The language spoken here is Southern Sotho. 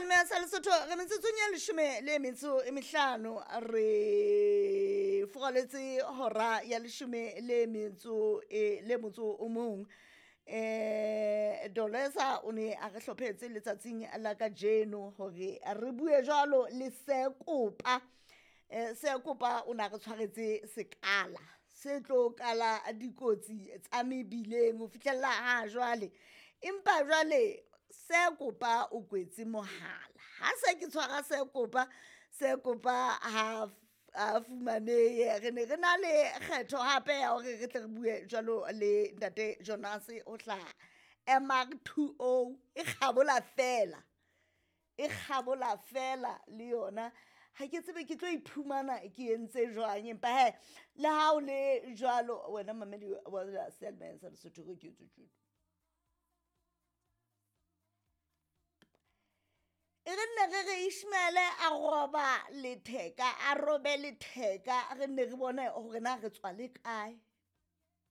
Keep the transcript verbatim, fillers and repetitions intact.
Seyalemoya sa Lesotho re metsotsong ya leshome le metso e mehlano re furaletse hora ya leshome le metso e le motso o mong. Eh Dolesa o ne a re hlophetse letsatsing la kajeno hore re bue jwalo le Sekopa. Eh Sekopa o na re tshwaretse sekala se tlo kala dikotsi tsa mebileng ho fihlella ha jwale, empa jwale Sekopa o kwetse mohala ha se ke tshwara Sekopa. Sekopa ha a fumanehe re ne re na le kgetho hape ya hore re tle re bue jwalo le ntate Jonas ho hlaha M R two O e kgabola fela e kgabola fela le yona. Ha ke tsebe ke tlo iphumana ke entse jwang, empa hee le ha o le jwalo wena momamedi wa seyalemoya sa Lesotho re ke etse tjena. E re nne re re Ishmael a roba letheka a robe letheka re nne re bone hore na re tswa le kae.